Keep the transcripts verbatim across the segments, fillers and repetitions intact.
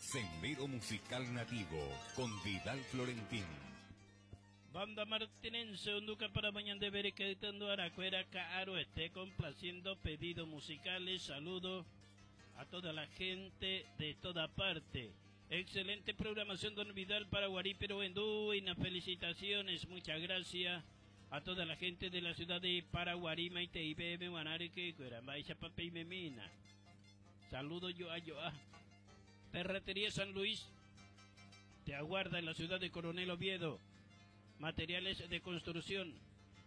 Sendero Musical Nativo con Vidal Florentín. Banda Martinense, Unduca para mañana de ver que Aracuera Caro esté complaciendo pedidos musicales. Saludo a toda la gente de toda parte. Excelente programación, don Vidal Paraguarí, pero en felicitaciones, muchas gracias a toda la gente de la ciudad de Paraguarí, Maite I B M, Guanare, Pape y Memina. Saludo yo a yo a Ferretería San Luis te aguarda en la ciudad de Coronel Oviedo. Materiales de construcción,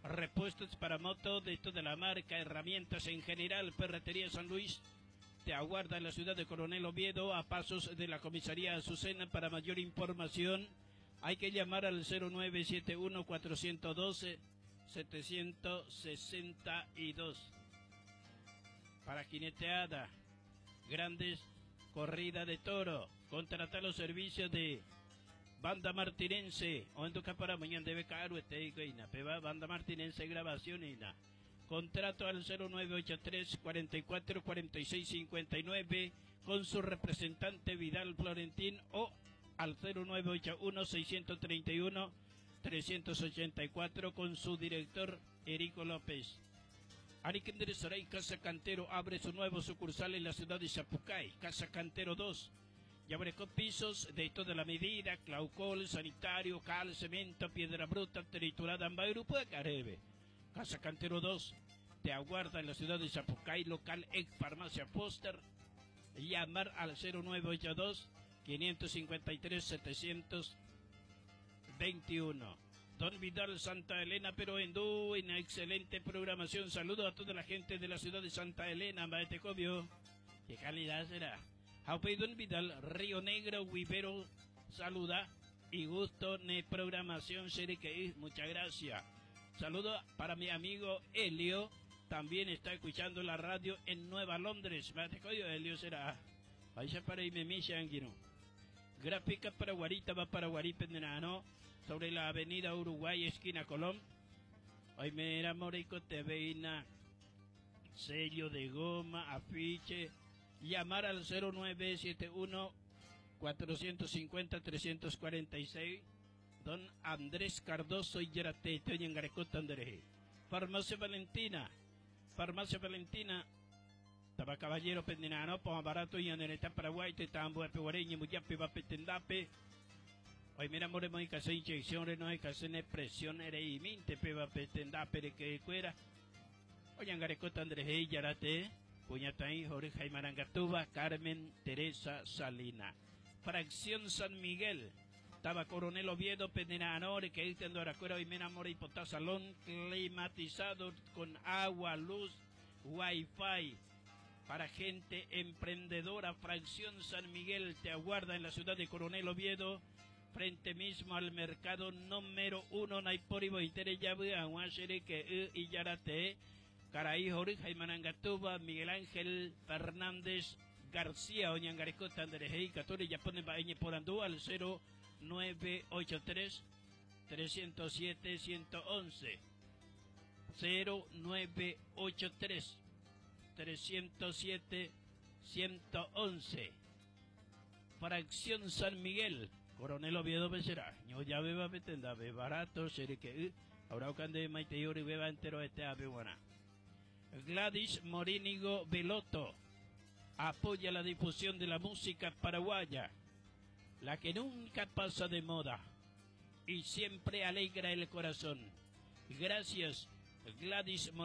repuestos para moto de toda la marca, herramientas en general. Ferretería San Luis te aguarda en la ciudad de Coronel Oviedo, a pasos de la comisaría Azucena. Para mayor información hay que llamar al cero nueve siete uno, cuatrocientos doce, setecientos sesenta y dos. Para jineteada, grandes corrida de toro, contratar los servicios de Banda Martinense, o en tu para mañana debe caer este y na peba Banda Martinense grabación y na. Contrato al cero nueve ocho tres, cuarenta y cuatro, cuarenta y seis, cincuenta y nueve con su representante Vidal Florentín o al cero nueve ocho uno, seiscientos treinta y uno, trescientos ochenta y cuatro con su director Erico López. Ariquendere Saray Casa Cantero abre su nuevo sucursal en la ciudad de Sapucay, Casa Cantero dos. Y abre con pisos de toda la medida, claucol, sanitario, cal, cemento, piedra bruta, triturada, grupo de Caribe. Casa Cantero dos te aguarda en la ciudad de Sapucay, local ex Farmacia Foster. Llamar al cero nueve ocho dos, quinientos cincuenta y tres, setecientos veintiuno. Don Vidal Santa Elena, pero en una excelente programación. Saludo a toda la gente de la ciudad de Santa Elena, Maetecobio. Qué calidad será. Jaupey Don Vidal, Río Negro, Huipero, saluda y gusto de programación, Seriqueí, muchas gracias. Saludo para mi amigo Helio, también está escuchando la radio en Nueva Londres. Maetecobio, Helio será. Vaya para Imemisa, Anguino. Gráfica para Guarita, va para Guaripe, Pendenano, sobre la avenida Uruguay, esquina Colón. Hoy me era Morico T V, sello de goma, afiche. Llamar al cero nueve siete uno, cuatrocientos cincuenta, trescientos cuarenta y seis. Don Andrés Cardoso y Yarate, Toñangarecota, Andrés. Farmacia Valentina, Farmacia Valentina, Tabacaballero, Pendenano, Poma Barato y Andereta, Paraguay, Tetambo, Epeguareña, Muyape, Vape, Tendape. Hoy mira, more, muy casa, inyección, no hay casa, presión, ere y minte, peba, petendape, de que cuera. Oñangarecota, Andrés, y Yarate, Puñataí, Jorge Marangatúa, Carmen Teresa Salina. Fracción San Miguel, Taba Coronel Oviedo, Pendenanore, que dice Andoracuera, y Mena More y Potá, salón climatizado con agua, luz, wifi. Para gente emprendedora, Fracción San Miguel te aguarda en la ciudad de Coronel Oviedo, frente mismo al mercado número uno, Naipori, Boitere, Yabu, Aguasere, que y Yarate, Caraí, Jorge, Manangatuba, Miguel Ángel Fernández García, Oñangarecota, Andrés y Catori, Yapone, Baeñe, Porandú, al cero nueve ocho tres, trescientos siete, ciento once. cero nueve ocho tres, trescientos siete, ciento once. Fracción San Miguel, Coronel Oviedo Becerra. Ño ya beba betenda be barato, seré que ahora cande maite yori beba entero este ave buena. Gladys Morínigo Veloto apoya la difusión de la música paraguaya, la que nunca pasa de moda y siempre alegra el corazón. Gracias, Gladys Morínigo.